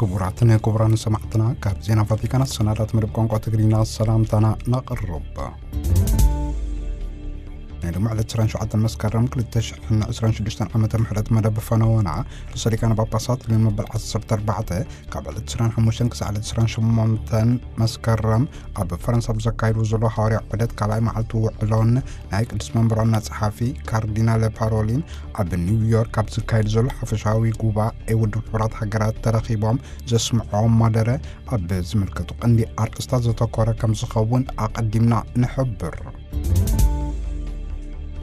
ክቡራትን ክቡራን ሰማዕትና፣ ካብ ዜና ቫቲካን ኣሰናዳት መደብ ቋንቋ ትግርኛ ሰላምታና ነቕርብ። ናይ ሎሚ ዕለት ዕስራን ሸውዓተን መስከረም ክልተ ሽሕን ዕስራን ሽዱሽተን ዓመተ ምሕረት መደብ ፈነወና ርእሰ ሊቃነ ጳጳሳት ሊዮን መበል ዓሰርተ ኣርባዕተ ካብ ዕለት ዕስራን ሓሙሽተን ክሳዕ ዕለት ዕስራን ሸሞንተን መስከረም ኣብ ፈረንሳ ብዘካይዱ ዘሎ ሃዋርያ ዑደት ካልኣይ መዓልቲ ውዕሎን ናይ ቅዱስ መንበር ዋና ጸሓፊ ካርዲናል ፓሮሊን ኣብ ኒውዮርክ ኣብ ዝካየድ ዘሎ ሓፈሻዊ ጉባኤ ውድብ ሕቡራት ሃገራት ተረኺቦም ዘስምዖም መደረ ኣብ ዝምልከቱ ቀንዲ ኣርእስታት ዘተኮረ ከም ዝኸውን ኣቐዲምና ንሕብር።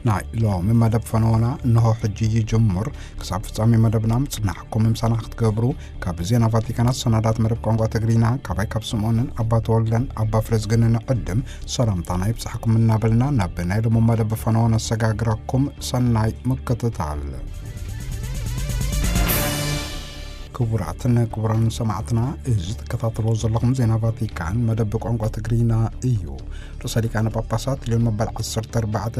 ናይ ሎሚ መደብ ፈነወና እንሆ ሕጂ ይጅምር። ክሳብ ፍጻሜ መደብና ምጽናሕኩም ምሳና ክትገብሩ ካብ ዜና ቫቲካን ኣሰናዳት መደብ ቋንቋ ትግርኛ ካባይ ካብ ስምኦንን ኣባ ተወልደን ኣባ ፍሬዝግንን ዕድም ሰላምታና ይብጻሕኩም እናበልና ናብ ናይ ሎሚ መደብ ፈነወና ነሰጋግረኩም። ሰናይ ምክትታል። ክቡራትን ክቡራን ሰማዕትና፣ እዚ ትከታተልዎ ዘለኹም ዜና ቫቲካን መደብ ቋንቋ ትግርኛ እዩ። ርእሰ ሊቃነ ጳጳሳት ሊዮን መበል ዓሰርተ ኣርባዕተ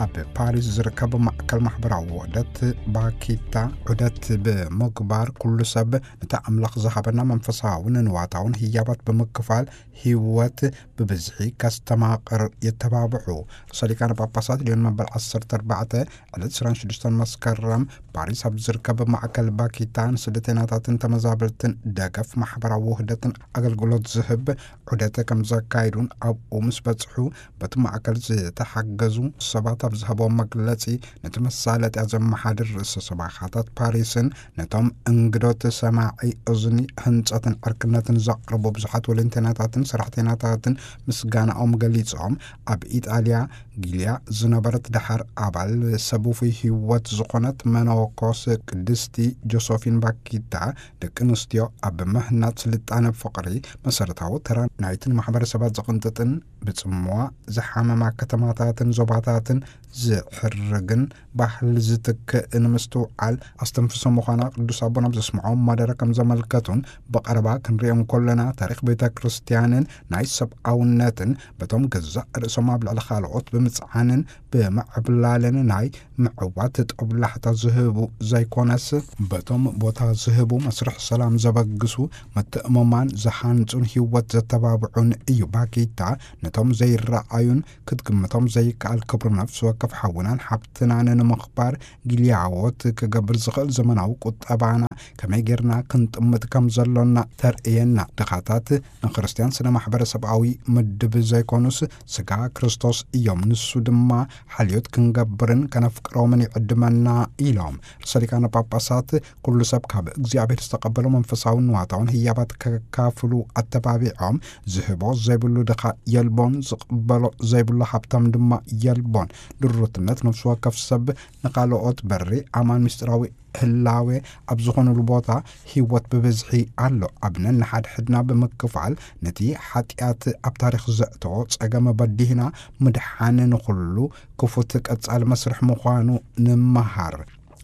ኣብ ፓሪስ ዝርከብ ማእከል ማሕበራዊ ውህደት ባኪታ ዑደት ብምግባር ኩሉ ሰብ ነቲ ኣምላኽ ዝሃበና መንፈሳውን ንዋታውን ህያባት ብምክፋል ህይወት ብብዝሒ ከስተማቕር የተባብዑ። ርእሰ ሊቃነ ጳጳሳት ሊዮን መበል ዓሰርተ ኣርባዕተ ዕለት ዕስራን ሽዱሽተን መስከረም ፓሪስ ኣብ ዝርከብ ማእከል ባኪታ ንስደተኛታትን ተመዛበልትን ደገፍ ማሕበራዊ ውህደትን ኣገልግሎት ዝህብ ዑደት ከም ዘካይዱን ኣብኡ ምስ በጽሑ በቲ ማእከል ዝተሓገዙ ሰባት ኣብ ዝሃብዎም መግለጺ ነቲ መሳለጥያ ዘመሓድር ርእሰ ሰባኻታት ፓሪስን ነቶም እንግዶት ሰማዒ እዝኒ ህንጸትን ዕርክነትን ዘቕርቡ ብዙሓት ወለንተናታትን ሰራሕተኛታትን ምስጋናኦም ገሊጾም፣ ኣብ ኢጣልያ ጊልያ ዝነበረት ደሓር ኣባል ሰብ ውፉይ ህይወት ዝኾነት መነኮስ ቅድስቲ ጆሶፊን ባኪታ ደቂ ኣንስትዮ ኣብ ምህናጽ ስልጣነ ፍቕሪ መሰረታዊ ተራ ናይትን ማሕበረሰባት ዝቕንጥጥን ብጽምዋ ዝሓመማ ከተማታትን ዞባታትን ዝሕርግን ባህሊ ዝትክእን ምስትውዓል ኣስተንፍሶ ምዃና ቅዱስ ኣቦና ኣብ ዘስምዖም መደረ ከም ዘመልከቱን ብቐረባ ክንሪኦም ከለና ታሪኽ ቤተ ክርስቲያንን ናይ ሰብኣውነትን በቶም ገዛእ ርእሶም ኣብ ልዕሊ ካልኦት ብምጽዓንን ብምዕብላልን ናይ ምዕዋት ጦብላሕታ ዝህቡ ዘይኮነስ በቶም ቦታ ዝህቡ መስርሕ ሰላም ዘበግሱ ምትእምማን ዝሃንጹን ህይወት ዘተባብዑን እዩ። ባኪታ ነቶም ዘይረኣዩን ክትግምቶም ዘይከኣል ክብሪ ነፍሲ ወከፍ ሓውናን ሓብትናን ንምኽባር ጊልያዎት ክገብር ዝኽእል ዘመናዊ ቁጠባና ከመይ ጌርና ክንጥምት ከም ዘሎና ተርእየና። ድኻታት ንክርስትያን ስነ ማሕበረሰብኣዊ ምድብ ዘይኮኑስ ስጋ ክርስቶስ እዮም። ንሱ ድማ ሓልዮት ክንገብርን ከነፍቅሮምን ይዕድመና ኢሎም። ርእሰ ሊቃነ ጳጳሳት ኩሉ ሰብ ካብ እግዚኣብሔር ዝተቐበሎ መንፈሳውን ንዋታውን ህያባት ከካፍሉ ኣተባቢዖም፣ ዝህቦ ዘይብሉ ድኻ የልቦን፣ ዝቕበሎ ዘይብሉ ሃብታም ድማ የልቦን። ድሩትነት ነፍሲ ወከፍ ሰብ ንኻልኦት በሪ ኣማን ምስጢራዊ ህላዌ ኣብ ዝኾኑሉ ቦታ ህይወት ብብዝሒ ኣሎ። ኣብ ነንሓድሕድና ብምክፋል ነቲ ሓጢኣት ኣብ ታሪኽ ዘእተዎ ጸገም በዲህና ምድሓን ንኹሉ ክፉት ቀጻሊ መስርሕ ምዃኑ ንምሃር።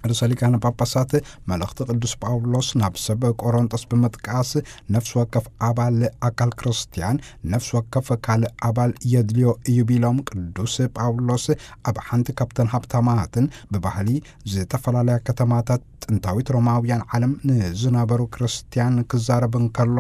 ርእሰ ሊቃነ ጳጳሳት መልእኽቲ ቅዱስ ጳውሎስ ናብ ሰብ ቆሮንጦስ ብምጥቃስ ነፍሲ ወከፍ ኣባል ኣካል ክርስትያን ነፍሲ ወከፍ ካልእ ኣባል የድልዮ እዩ ቢሎም፣ ቅዱስ ጳውሎስ ኣብ ሓንቲ ካብተን ሃብታማትን ብባህሊ ዝተፈላለያ ከተማታት ጥንታዊት ሮማውያን ዓለም ንዝነበሩ ክርስትያን ክዛረብ እንከሎ፣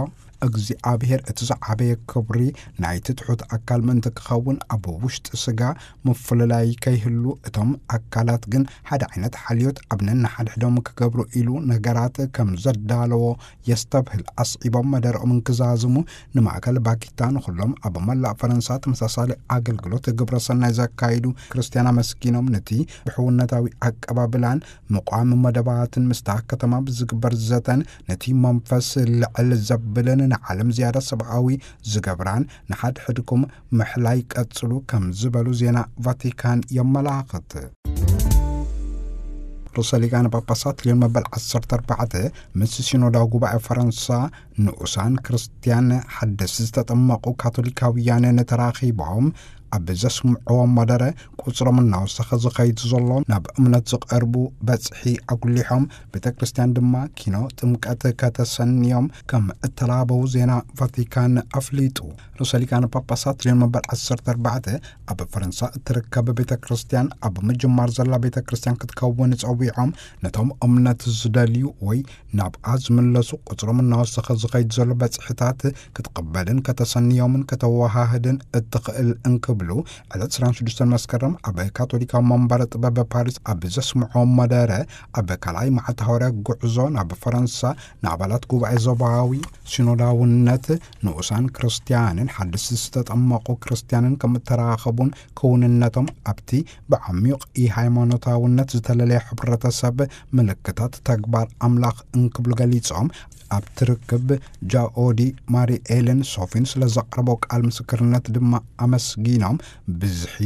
እግዚኣብሔር እቲ ዝዓበየ ክብሪ ናይቲ ትሑት ኣካል ምእንቲ ክኸውን ኣብ ውሽጢ ስጋ ምፍልላይ ከይህሉ፣ እቶም ኣካላት ግን ሓደ ዓይነት ሓልዮት ኣብ ነንሓድሕዶም ክገብሩ ኢሉ ነገራት ከም ዘዳለዎ የስተብህል። ኣስዒቦም መደረኦም እንክዛዝሙ ንማእከል ባኪታ ንኹሎም ኣብ መላእ ፈረንሳ ተመሳሳሊ ኣገልግሎት ግብረ ሰናይ ዘካይዱ ክርስትያን ኣመስጊኖም፣ ነቲ ብሕውነታዊ ኣቀባብላን ምቋም መደባትን ምስታ ከተማ ብዝግበር ዘተን ነቲ መንፈስ ልዕል ዘብልን ንዓለም ዝያዳ ሰብኣዊ ዝገብራን ንሓድሕድኩም ምሕላይ ቀጽሉ ከም ዝበሉ ዜና ቫቲካን የመላኽት። ርእሰ ሊቃነ ጳጳሳት ሊዮን መበል ዓሰርተ ኣርባዕተ ምስ ሲኖዳዊ ጉባኤ ፈረንሳ ንኡሳን ክርስትያን ሓደስ ዝተጠመቑ ካቶሊካውያንን ተራኺቦም ኣብ ዘስምዕዎ መደረ፣ ቁጽሮም እናወሰኸ ዝኸይድ ዘሎ ናብ እምነት ዝቐርቡ በጽሒ ኣጉሊሖም፣ ቤተ ክርስቲያን ድማ ኪኖ ጥምቀት ከተሰንዮም ከም እተላበው ዜና ቫቲካን ኣፍሊጡ። ርእሰ ሊቃነ ጳጳሳት ሊዮን መበል ዓሰርተ ኣርባዕተ ኣብ ፈረንሳ እትርከብ ቤተ ክርስቲያን ኣብ ምጅማር ዘላ ቤተ ክርስቲያን ክትከውን ጸዊዖም፣ ነቶም እምነት ዝደልዩ ወይ ናብኣ ዝምለሱ ቁጽሮም እናወሰኸ ዝኸይድ ዘሎ በጽሕታት ክትቕበልን ከተሰንዮምን ከተወሃህድን እትኽእል እንክብሉ ዕለት ዕስራን ሽዱሽተን መስከረም ኣብ ካቶሊካዊ መንበረ ጥበብ ፓሪስ ኣብ ዘስምዖ መደረ፣ ኣብ ካልኣይ መዓልቲ ሃዋርያ ጉዕዞ ናብ ፈረንሳ ንኣባላት ጉባኤ ዞባዊ ሲኖዳውነት ንኡሳን ክርስትያንን ሓድስቲ ዝተጠመቑ ክርስትያንን ከም እተራኸቡን ክውንነቶም ኣብቲ ብዓሚቕ ሃይማኖታውነት ዝተለለየ ሕብረተሰብ ምልክታት ተግባር ኣምላኽ እንክብሉ ገሊጾም፣ ኣብ ትርክብ ጃኦዲ ማሪ ኤለን ሶፊን ስለ ዘቕረቦ ቃል ምስክርነት ድማ ኣመስጊኖም፣ ብዝሒ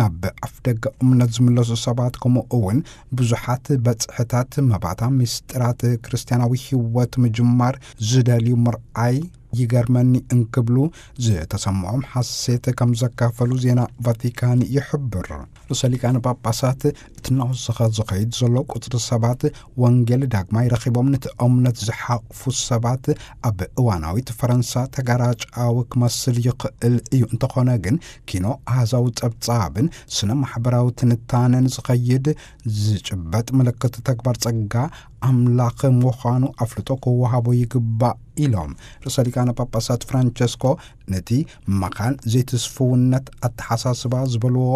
ናብ ኣፍደገ እምነት ዝምለሱ ሰባት ከምኡ እውን ብዙሓት በጽሕታት መባእታ ምስጢራት ክርስትያናዊ ህይወት ምጅማር ዝደልዩ ምርኣይ ይገርመኒ እንክብሉ ዝተሰምዖም ሓሴት ከም ዘካፈሉ ዜና ቫቲካን ይሕብር። ርእሰ ሊቃነ ጳጳሳት እቲ እናወሰኸ ዝኸይድ ዘሎ ቁጽሪ ሰባት ወንጌል ዳግማይ ረኺቦም ነቲ እምነት ዝሓቕፉ ሰባት ኣብ እዋናዊት ፈረንሳ ተጋራጫዊ ክመስል ይኽእል እዩ። እንተኾነ ግን ኪኖ ኣሃዛዊ ጸብጻብን ስነ ማሕበራዊ ትንታነን ዝኸይድ ዝጭበጥ ምልክት ተግባር ጸጋ ኣምላኽ ምዃኑ ኣፍልጦ ክወሃቦ ይግባእ ኢሎም። ርእሰ ሊቃነ ጳጳሳት ፍራንቸስኮ ነቲ መኻን ዘይትስፍውነት ኣተሓሳስባ ዝበልዎ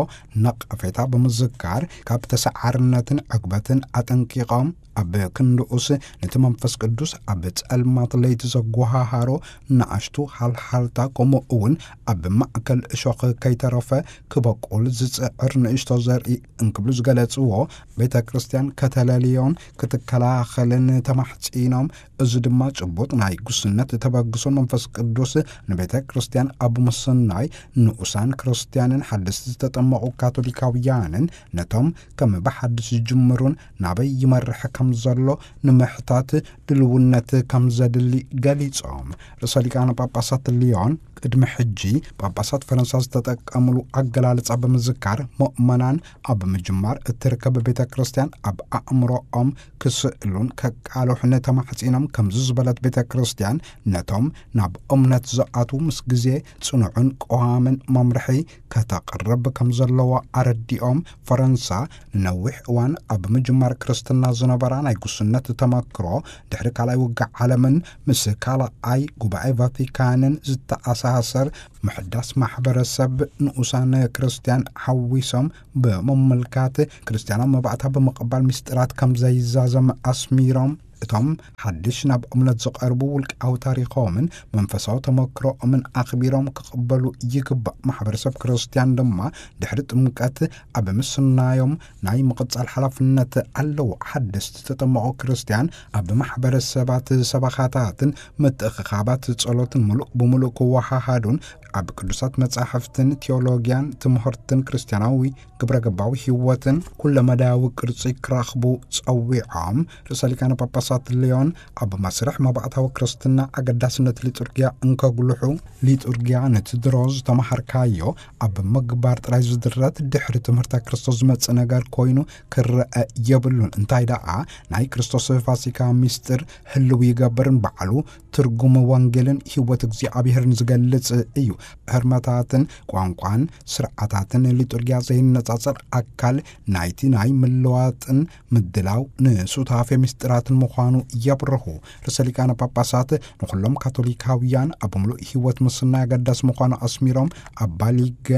ነቐፌታ ብምዝካር፣ ካብ ተሰዓርነትን ዕግበትን ኣጠንቂቖም፣ ኣብ ክንድኡስ ነቲ መንፈስ ቅዱስ ኣብ ጸልማት ለይቲ ዘጓሃሃሮ ንኣሽቱ ሃልሃልታ፣ ከምኡ እውን ኣብ ማእከል እሾኽ ከይተረፈ ክበቁል ዝጽዕር ንእሽቶ ዘርኢ እንክብሉ ዝገለጽዎ፣ ቤተ ክርስቲያን ከተለልዮን ክትከላኸልን ተማሕጺኖም። እዚ ድማ ጭቡጥ ናይ ጉስነት ተበግሶን መንፈስ ቅዱስ ንቤተ ክርስቲያን ኣብ ምስናይ ንኡሳን ክርስቲያንን ሓደስቲ ዝተጠመቑ ካቶሊካውያንን ነቶም ከም ብሓድሽ ዝጅምሩን ናበይ ይመርሕ ከም ዘሎ ንምሕታት ድልውነት ከም ዘድሊ ገሊጾም። ርእሰ ሊቃነ ጳጳሳት ሊዮን ቅድሚ ሕጂ ጳጳሳት ፈረንሳ ዝተጠቀምሉ ኣገላልጻ ብምዝካር፣ ምእመናን ኣብ ምጅማር እትርከብ ቤተ ክርስቲያን ኣብ ኣእምሮኦም ክስእሉን ከቃልሑን ተማሕጺኖም። ከምዚ ዝበለት ቤተ ክርስቲያን ነቶም ናብ እምነት ዝኣትዉ ምስ ግዜ ጽኑዕን ቀዋምን መምርሒ ከተቕርብ ከም ዘለዋ ኣረዲኦም፣ ፈረንሳ ንነዊሕ እዋን ኣብ ምጅማር ክርስትና ዝነበራ ናይ ጉስነት ተመክሮ፣ ድሕሪ ካልኣይ ውግእ ዓለምን ምስ ካልኣይ ጉባኤ ቫቲካንን ዝተኣሳሰር ምሕዳስ ማሕበረሰብ ንኡሳን ክርስቲያን ሓዊሶም ብምምልካት፣ ክርስትያናዊ መባእታ ብምቕባል ምስጢራት ከም ዘይዛዘም ኣስሚሮም፣ እቶም ሓድሽ ናብ እምነት ዝቐርቡ ውልቃዊ ታሪኾምን መንፈሳዊ ተመክሮኦምን ኣኽቢሮም ክቕበሉ ይግባእ። ማሕበረሰብ ክርስትያን ድማ ድሕሪ ጥምቀት ኣብ ምስናዮም ናይ ምቕጻል ሓላፍነት ኣለዎ። ሓደስቲ ተጠመቑ ክርስትያን ኣብ ማሕበረሰባት፣ ሰበኻታትን ምትእኽኻባት ጸሎትን ምሉእ ብምሉእ ክወሃሃዱን ኣብ ቅዱሳት መጻሕፍትን ቴዎሎጊያን ትምህርትን ክርስትያናዊ ግብረ ገባዊ ህይወትን ኩለመዳያዊ ቅርጺ ክረኽቡ ጸዊዖም። ርእሰ ሊቃነ ጳጳሳት ሊዮን ኣብ መስርሕ መባእታዊ ክርስትና ኣገዳስነት ሊጡርጊያ እንከጉልሑ፣ ሊጡርጊያ ነቲ ድሮ ዝተመሃርካዮ ኣብ ምግባር ጥራይ ዝድረት ድሕሪ ትምህርተ ክርስቶስ ዝመጽእ ነገር ኮይኑ ክረአ የብሉን። እንታይ ደኣ ናይ ክርስቶስ ፋሲካ ምስጢር ህልው ይገብርን ባዕሉ ትርጉም ወንጌልን ህይወት እግዚኣብሔርን ዝገልጽ እዩ። ህርመታትን ቋንቋን ስርዓታትን ሊጡርጊያ ዘይነጻጸር ኣካል ናይቲ ናይ ምልዋጥን ምድላው ንሱታፌ ምስጢራትን ምዃኑ የብርሁ። ርእሰ ሊቃነ ጳጳሳት ንኹሎም ካቶሊካውያን ኣብ ምሉእ ህይወት ምስናይ ኣገዳሲ ምዃኑ ኣስሚሮም፣ ኣብ ባሊገ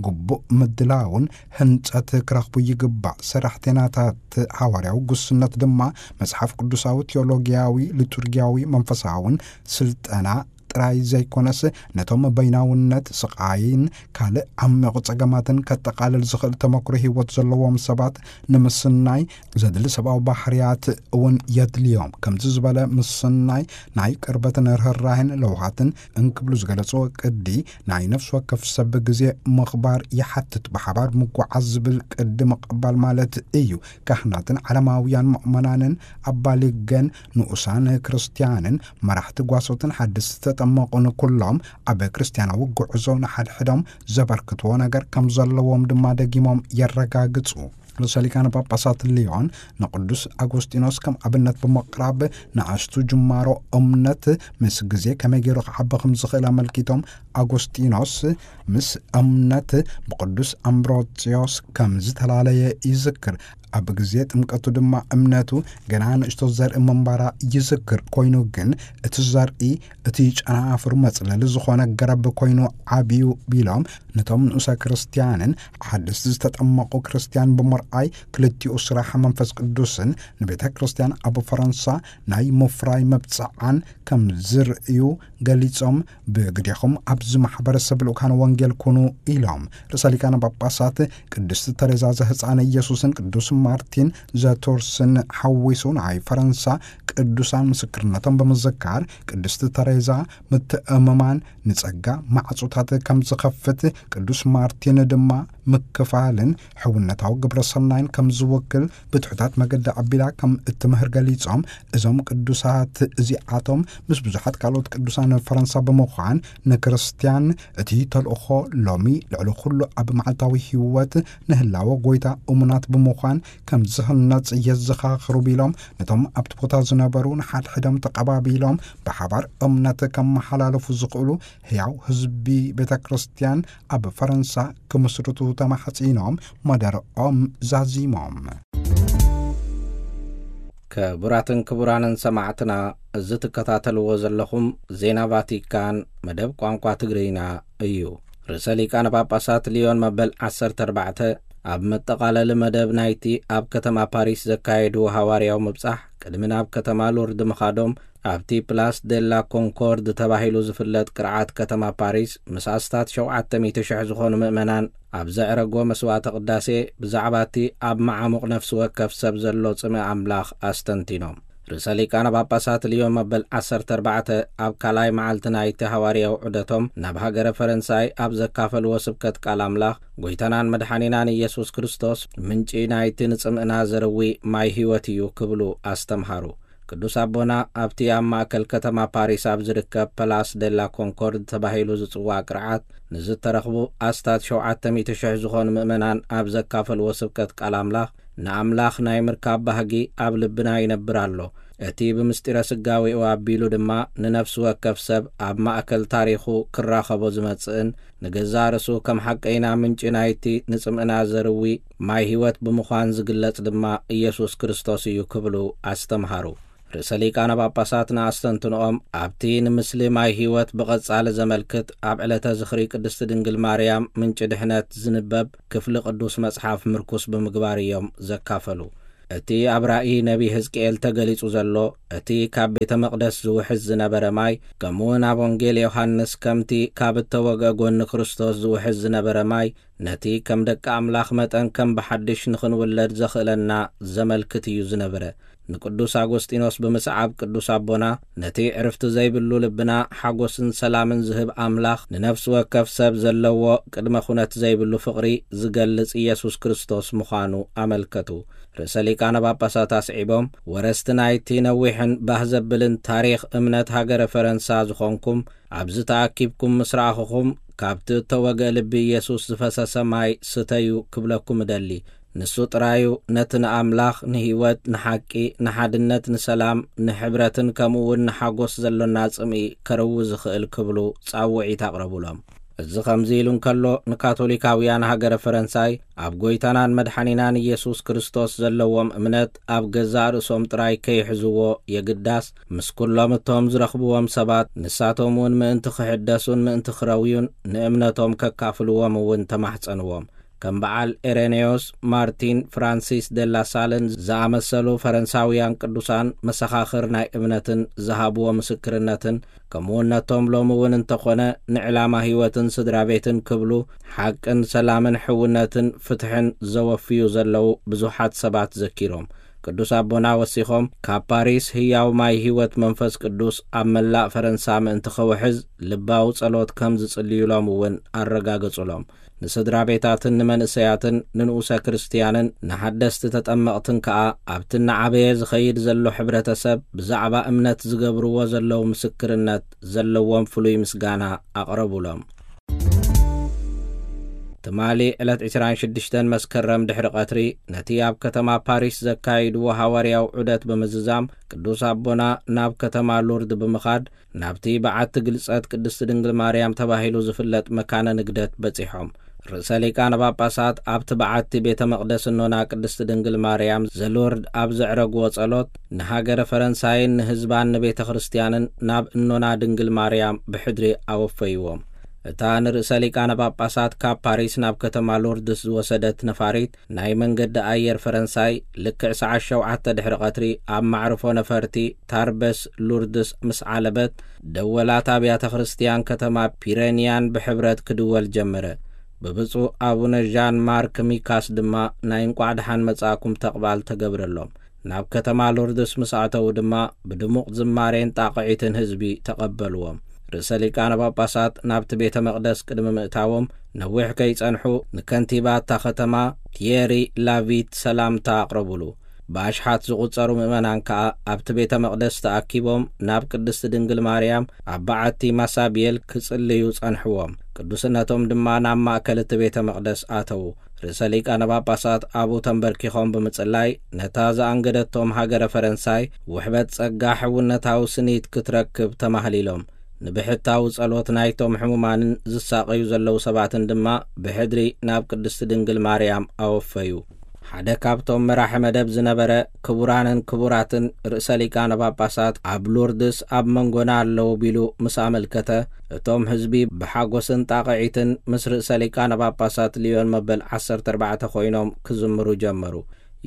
ግቡእ ምድላውን ህንጸት ክረኽቡ ይግባእ። ሰራሕተኛታት ሃዋርያዊ ጉስነት ድማ መጽሓፍ ቅዱሳዊ፣ ቴዎሎጊያዊ፣ ሊጡርጊያዊ፣ መንፈሳውን ስልጠና ጥራይ ዘይኮነስ፣ ነቶም በይናውነት፣ ስቓይን ካልእ ዓሚቕ ጸገማትን ከጠቓልል ዝኽእል ተመክሮ ህይወት ዘለዎም ሰባት ንምስናይ ዘድሊ ሰብኣዊ ባህርያት እውን የድልዮም። ከምዚ ዝበለ ምስናይ ናይ ቅርበትን ርህራሄን ለውሃትን እንክብሉ ዝገለጽዎ ቅዲ ናይ ነፍሲ ወከፍ ሰብ ግዜ ምኽባር ይሓትት። ብሓባር ምጓዓዝ ዝብል ቅዲ ምቕባል ማለት እዩ። ካህናትን ዓለማውያን ምእመናንን ኣባሊገን ንኡሳን ክርስትያንን መራሕቲ ጓሶትን ሓደስቲ ዘጠመቑን ኩሎም ኣብ ክርስትያናዊ ጉዕዞ ንሓድሕዶም ዘበርክትዎ ነገር ከም ዘለዎም ድማ ደጊሞም የረጋግጹ። ርእሰ ሊቃነ ጳጳሳት ሊዮን ንቅዱስ ኣጎስጢኖስ ከም ኣብነት ብምቕራብ፣ ንኣሽቱ ጅማሮ እምነት ምስ ግዜ ከመይ ገይሩ ክዓቢ ከም ዝኽእል ኣመልኪቶም፣ ኣጎስጢኖስ ምስ እምነት ብቅዱስ ኣምብሮጽዮስ ከም ዝተፈላለየ ይዝክር። ኣብ ግዜ ጥምቀቱ ድማ እምነቱ ገና ንእሽቶ ዘርኢ ምንባራ ይዝክር። ኮይኑ ግን እቲ ዘርኢ፣ እቲ ጨናፍር መጽለሊ ዝኾነ ገረብ ኮይኑ ዓብዩ ቢሎም፣ ነቶም ንኡሰ ክርስትያንን ሓደስቲ ዝተጠመቑ ክርስትያን ብምርኣይ፣ ክልቲኡ ስራሕ መንፈስ ቅዱስን ንቤተ ክርስትያን ኣብ ፈረንሳ ናይ ምፍራይ መብጽዓን ከም ዝርእዩ ገሊጾም፣ ብግዴኹም ኣብዚ ማሕበረሰብ ልኡካን ወንጌል ኩኑ ኢሎም። ርእሰ ሊቃነ ጳጳሳት ቅድስቲ ተሬዛ ዘህፃነ ኢየሱስን ቅዱስ ማርቲን ዘቶርስን ሓዊሱ ናይ ፈረንሳ ቅዱሳን ምስክርነቶም ብምዝካር፣ ቅድስቲ ተሬዛ ምትእምማን ንጸጋ ማዕጾታት ከም ዝኸፍት፣ ቅዱስ ማርቲን ድማ ምክፋልን ሕውነታዊ ግብረ ሰናይን ከም ዝውክል ብትሑታት መገዲ ኣቢላ ከም እትምህር ገሊጾም፣ እዞም ቅዱሳት እዚኣቶም ምስ ብዙሓት ካልኦት ቅዱሳን ፈረንሳ ብምዃን ንክርስትያን እቲ ተልእኾ ሎሚ ልዕሊ ኩሉ ኣብ መዓልታዊ ህይወት ንህላወ ጎይታ እሙናት ብምዃን ከም ዝህነጽ የዘኻኽሩ ቢሎም፣ ነቶም ኣብቲ ቦታ ዝነበሩ ንሓድሕዶም ተቐባቢሎም ብሓባር እምነት ከመሓላልፉ ዝኽእሉ ህያው ህዝቢ ቤተ ክርስትያን ኣብ ፈረንሳ ክምስርቱ ተማሕጺኖም፣ መደርኦም ዛዚሞም። ክቡራትን ክቡራንን ሰማዕትና፣ እዚ ትከታተልዎ ዘለኹም ዜና ቫቲካን መደብ ቋንቋ ትግርኛ እዩ። ርእሰ ሊቃነ ጳጳሳት ሊዮን መበል ዓሰርተ ኣርባዕተ ኣብ መጠቓለሊ መደብ ናይቲ ኣብ ከተማ ፓሪስ ዘካየድዎ ሃዋርያዊ ምብጻሕ፣ ቅድሚ ናብ ከተማ ሉርድ ምኻዶም፣ ኣብቲ ፕላስ ደላ ኮንኮርድ ተባሂሉ ዝፍለጥ ቅርዓት ከተማ ፓሪስ፣ ምስ ኣስታት ሸውዓተ ሚእቲ ሽሕ ዝኾኑ ምእመናን ኣብ ዘዕረጎ መስዋዕተ ቅዳሴ፣ ብዛዕባ እቲ ኣብ መዓሙቕ ነፍሲ ወከፍ ሰብ ዘሎ ጽምኢ ኣምላኽ ኣስተንቲኖም። ርእሰ ሊቃነ ጳጳሳት ልዮን መበል ዓሰርተ ኣርባዕተ ኣብ ካልኣይ መዓልቲ ናይቲ ሃዋርያዊ ዑደቶም ናብ ሃገረ ፈረንሳይ ኣብ ዘካፈልዎ ስብከት ቃል ኣምላኽ፣ ጎይታናን መድሓኒናን ኢየሱስ ክርስቶስ ምንጪ ናይቲ ንጽምእና ዘርዊ ማይ ህይወት እዩ ክብሉ ኣስተምሃሩ። ቅዱስ ኣቦና ኣብቲ ኣብ ማእከል ከተማ ፓሪስ ኣብ ዝርከብ ፐላስ ደላ ኮንኮርድ ተባሂሉ ዝጽዋዕ ቅርዓት ንዝተረኽቡ ኣስታት ሸውዓተ ሚእቲ ሽሕ ዝኾኑ ምእመናን ኣብ ዘካፈልዎ ስብከት ቃል ኣምላኽ፣ ንኣምላኽ ናይ ምርካብ ባህጊ ኣብ ልብና ይነብር ኣሎ። እቲ ብምስጢረ ስጋዌኡ ኣቢሉ ድማ ንነፍሲ ወከፍ ሰብ ኣብ ማእከል ታሪኹ ክራኸቦ ዝመጽእን ንገዛእ ርእሱ ከም ሓቀይና ምንጪ ናይቲ ንጽምእና ዘርዊ ማይ ህይወት ብምዃን ዝግለጽ ድማ ኢየሱስ ክርስቶስ እዩ ክብሉ ኣስተምሃሩ። ርእሰ ሊቃነ ጳጳሳት ንኣስተንትንኦም ኣብቲ ንምስሊ ማይ ህይወት ብቐጻሊ ዘመልክት ኣብ ዕለተ ዝኽሪ ቅድስቲ ድንግል ማርያም ምንጪ ድሕነት ዝንበብ ክፍሊ ቅዱስ መጽሓፍ ምርኩስ ብምግባር እዮም ዘካፈሉ። እቲ ኣብ ራእይ ነቢ ሕዝቅኤል ተገሊጹ ዘሎ፣ እቲ ካብ ቤተ መቕደስ ዝውሕዝ ዝነበረ ማይ፣ ከምኡውን ኣብ ወንጌል ዮሃንስ ከምቲ ካብ እተወግአ ጐኒ ክርስቶስ ዝውሕዝ ዝነበረ ማይ፣ ነቲ ከም ደቂ ኣምላኽ መጠን ከም ብሓድሽ ንኽንውለድ ዘኽእለና ዘመልክት እዩ ዝነበረ። ንቅዱስ ኣጎስጢኖስ ብምስዓብ ቅዱስ ኣቦና፣ ነቲ ዕርፍቲ ዘይብሉ ልብና ሓጎስን ሰላምን ዝህብ ኣምላኽ፣ ንነፍሲ ወከፍ ሰብ ዘለዎ ቅድመ ኩነት ዘይብሉ ፍቕሪ ዝገልጽ ኢየሱስ ክርስቶስ ምዃኑ ኣመልከቱ። ርእሰ ሊቃነ ጳጳሳት ኣስዒቦም፣ ወረስቲ ናይቲ ነዊሕን ባህ ዘብልን ታሪኽ እምነት ሃገረ ፈረንሳ ዝኾንኩም፣ ኣብዚ ተኣኪብኩም ምስ ረኣኹኹም፣ ካብቲ እተወግአ ልቢ ኢየሱስ ዝፈሰሰ ማይ ስተዩ ክብለኩም እደሊ። ንሱ ጥራዩ ነቲ ንኣምላኽ፣ ንህይወት፣ ንሓቂ፣ ንሓድነት፣ ንሰላም፣ ንሕብረትን ከምኡ እውን ንሓጎስ ዘሎና ጽምኢ ከርዊ ዝኽእል ክብሉ ጻውዒት ኣቕረቡሎም። እዚ ከምዚ ኢሉ እንከሎ፣ ንካቶሊካውያን ሃገረ ፈረንሳይ ኣብ ጐይታናን መድሓኒናን ኢየሱስ ክርስቶስ ዘለዎም እምነት ኣብ ገዛእ ርእሶም ጥራይ ከይሕዝዎ የግዳስ፣ ምስ ኩሎም እቶም ዝረኽብዎም ሰባት፣ ንሳቶም እውን ምእንቲ ክሕደሱን ምእንቲ ክረውዩን ንእምነቶም ከካፍልዎም እውን ተማሕጸንዎም። ከም በዓል ኤሬኔዮስ፣ ማርቲን፣ ፍራንሲስ ደላ ሳልን ዝኣመሰሉ ፈረንሳውያን ቅዱሳን መሰኻኽር ናይ እምነትን ዝሃብዎ ምስክርነትን፣ ከምኡ እውን ነቶም ሎሚ እውን እንተኾነ ንዕላማ ህይወትን ስድራ ቤትን ክብሉ ሓቅን ሰላምን ሕውነትን ፍትሕን ዘወፍዩ ዘለዉ ብዙሓት ሰባት ዘኪሮም። ቅዱስ ኣቦና ወሲኾም፣ ካብ ፓሪስ ህያው ማይ ህይወት መንፈስ ቅዱስ ኣብ መላእ ፈረንሳ ምእንቲ ከውሕዝ ልባዊ ጸሎት ከም ዝጽልዩሎም እውን ኣረጋገጹሎም። ንስድራ ቤታትን ንመንእሰያትን ንንኡሰ ክርስትያንን ንሓደስቲ ተጠመቕትን ከኣ ኣብቲ እናዓበየ ዝኸይድ ዘሎ ሕብረተሰብ ብዛዕባ እምነት ዝገብርዎ ዘለዉ ምስክርነት ዘለዎም ፍሉይ ምስጋና ኣቕረቡሎም። ትማሊ ዕለት ዕስራን ሽዱሽተን መስከረም ድሕሪ ቀትሪ ነቲ ኣብ ከተማ ፓሪስ ዘካይድዎ ሃዋርያዊ ዑደት ብምዝዛም ቅዱስ ኣቦና ናብ ከተማ ሉርድ ብምኻድ ናብቲ በዓቲ ግልጸት ቅድስቲ ድንግል ማርያም ተባሂሉ ዝፍለጥ መካነ ንግደት በጺሖም። ርእሰ ሊቃነ ጳጳሳት ኣብቲ በዓቲ ቤተ መቕደስ እኖና ቅድስቲ ድንግል ማርያም ዘሉርድ ኣብ ዘዕረግዎ ጸሎት ንሃገረ ፈረንሳይን ንህዝባን ንቤተ ክርስትያንን ናብ እኖና ድንግል ማርያም ብሕድሪ ኣወፈይዎም። እታ ንርእሰ ሊቃነ ጳጳሳት ካብ ፓሪስ ናብ ከተማ ሎርድስ ዝወሰደት ነፋሪት ናይ መንገዲ ኣየር ፈረንሳይ ልክዕ ሰዓት ሸውዓተ ድሕሪ ቀትሪ ኣብ ማዕርፎ ነፈርቲ ታርበስ ሉርድስ ምስ ዓለበት፣ ደወላት ኣብያተ ክርስትያን ከተማ ፒረንያን ብሕብረት ክድወል ጀመረ። ብብፁዕ ኣቡነ ዣን ማርክ ሚካስ ድማ ናይ እንቋዕ ደሓን መጻእኩም ተቕባል ተገብረሎም። ናብ ከተማ ሎርድስ ምስ ኣተዉ ድማ ብድሙቕ ዝማሬን ጣቕዒትን ህዝቢ ተቐበልዎም። ርእሰ ሊቃነ ጳጳሳት ናብቲ ቤተ መቕደስ ቅድሚ ምእታዎም ነዊሕ ከይጸንሑ ንከንቲባ እታ ከተማ ቲየሪ ላቪት ሰላምታ ኣቕረቡሉ። ብኣሽሓት ዝቑጸሩ ምእመናን ከኣ ኣብቲ ቤተ መቕደስ ተኣኪቦም ናብ ቅድስቲ ድንግል ማርያም ኣብ በዓቲ ማሳብየል ክጽልዩ ጸንሕዎም። ቅዱስነቶም ድማ ናብ ማእከል እቲ ቤተ መቕደስ ኣተዉ። ርእሰ ሊቃነ ጳጳሳት ኣብኡ ተንበርኪኾም ብምጽላይ ነታ ዘኣንገደቶም ሃገረ ፈረንሳይ ውሕበት ጸጋ ሕውነታዊ ስኒት ክትረክብ ተማህሊሎም። ንብሕታዊ ጸሎት ናይቶም ሕሙማንን ዝሳቐዩ ዘለዉ ሰባትን ድማ ብሕድሪ ናብ ቅድስቲ ድንግል ማርያም ኣወፈዩ። ሓደ ካብቶም መራሒ መደብ ዝነበረ ክቡራንን ክቡራትን ርእሰ ሊቃነ ጳጳሳት ኣብ ሉርድስ ኣብ መንጎና ኣለዉ ቢሉ ምስ ኣመልከተ፣ እቶም ህዝቢ ብሓጎስን ጣቕዒትን ምስ ርእሰ ሊቃነ ጳጳሳት ልዮን መበል ዓሰርተ ኣርባዕተ ኮይኖም ክዝምሩ ጀመሩ።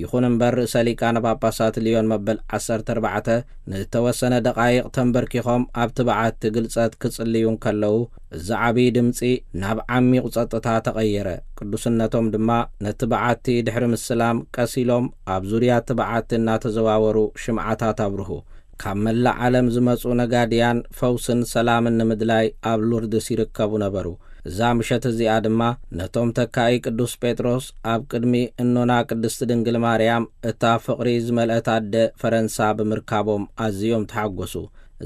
ይኹን እምበር ርእሰ ሊቃነ ጳጳሳት ልዮን መበል ዓሰርተ ኣርባዕተ ንእተወሰነ ደቓይቕ ተንበርኪኾም ኣብቲ በዓቲ ግልጸት ክጽልዩ እንከለዉ፣ እዚ ዓብዪ ድምጺ ናብ ዓሚቑ ጸጥታ ተቐየረ። ቅዱስነቶም ድማ ነቲ በዓቲ ድሕሪ ምስላም ቀስ ኢሎም ኣብ ዙርያ እቲ በዓቲ እናተዘዋወሩ ሽምዓታት ኣብርሁ። ካብ መላእ ዓለም ዝመጹ ነጋድያን ፈውስን ሰላምን ንምድላይ ኣብ ሉርድስ ይርከቡ ነበሩ። እዛ ምሸት እዚኣ ድማ ነቶም ተካኢ ቅዱስ ጴጥሮስ ኣብ ቅድሚ እኖና ቅድስቲ ድንግል ማርያም እታ ፍቕሪ ዝመልአት ኣደ ፈረንሳ ብምርካቦም ኣዝዮም ተሓጎሱ።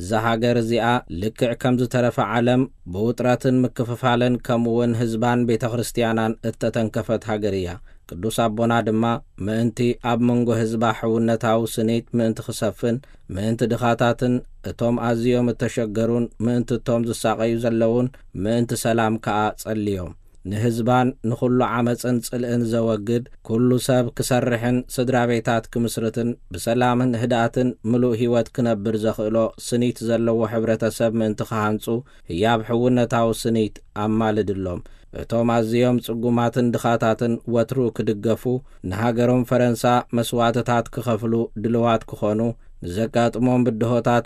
እዛ ሃገር እዚኣ ልክዕ ከም ዝተረፈ ዓለም ብውጥረትን ምክፍፋልን ከምኡውን ህዝባን ቤተ ክርስትያናን እተተንከፈት ሃገር እያ። ቅዱስ ኣቦና ድማ ምእንቲ ኣብ መንጎ ህዝባ ሕውነታዊ ስኒት ምእንቲ ክሰፍን፣ ምእንቲ ድኻታትን እቶም ኣዝዮም እተሸገሩን ምእንቲ እቶም ዝሳቐዩ ዘለዉን ምእንቲ ሰላም ከኣ ጸልዮም። ንህዝባን ንኹሉ ዓመጽን ጽልእን ዘወግድ፣ ኩሉ ሰብ ክሰርሕን ስድራ ቤታት ክምስርትን ብሰላምን ህድኣትን ምሉእ ህይወት ክነብር ዘኽእሎ ስኒት ዘለዎ ሕብረተሰብ ምእንቲ ክሃንጹ ህያብ ሕውነታዊ ስኒት ኣማልድሎም። እቶም ኣዝዮም ጽጉማትን ድኻታትን ወትሩ ክድገፉ፣ ንሃገሮም ፈረንሳ መስዋእትታት ክኸፍሉ ድልዋት ክኾኑ፣ ንዘጋጥሞም ብድሆታት